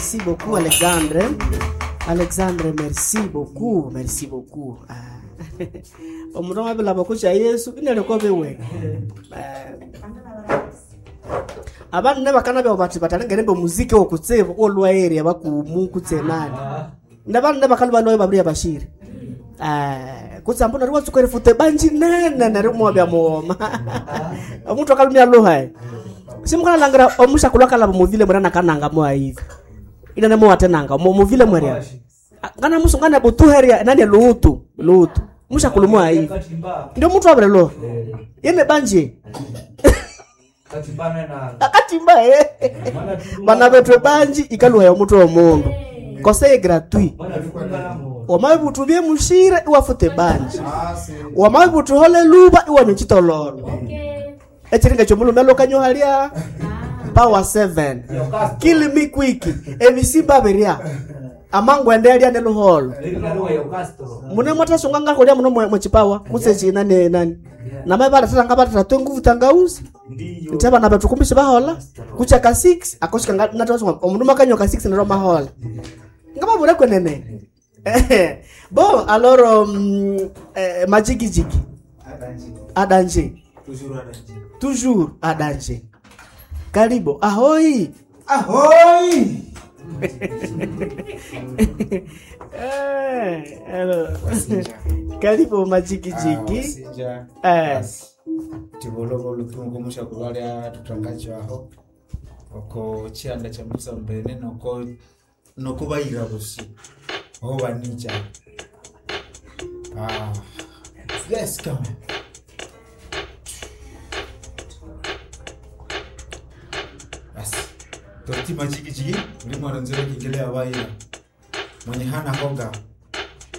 Merci beaucoup Alexandre. Alexandre, merci beaucoup, merci beaucoup. Ah. Omundu amabya kutya Yesu inaleko biwe. Abandu bakanabya bati batalengere omuziki wokutsibu olwaeri abakumu kutse nani. Nabandu bakalwa lwayo babiri abashiri. Kutse ambu neryo watsuka erifuta ebanji nene neryo mwabya mughoma. Omundu akalumya luha. Simukalangira omushakulhu akalaba omuvile mwera nakananga mwaivi. Inene muwatenanga muvile mwerya. Ngana musungana butuheria nani luhutu luhutu. Mushakulhu mwaivi. Ndio mtu abere lo. Yene banje. Akatimba eh. Bana betwe banji ikaluha ya mutwe womundu. Conseil gratuit. Wamabutu bye mushire iwafute banji. Wamabutu hole luba iwanywe chitololo. Echiringa chomulume lokanyo halia. Power 7. Kill me quick. Ebisimba beria. Amangwende alia neluholo. Mune mwatasunga ngakolya muno mwechipawa kutse china ne nani. Namabala tata ngabata twe nguvu tangauzi. Nti abana bethu kumbishe bahola kucha ka 6 akoshika natasunga omundu makanyo ka 6 nero mahola. Ngababura kwenene. Bon alors majigijigi. A danger. Toujours à danger. Toujours à danger. Karibu. Ahoi. Ahoi. Hello. Karibu majigijigi. Wasinja. Tivolovolo tungumusha kulwalya tutangacho aho. Oko chianda cha musa mbene noko noko bayira busi. Oho banicha. Ah. Let's go. Basi. Torti majigijigi ulimwaranzira kingelea bayira. Mwenye hana hoga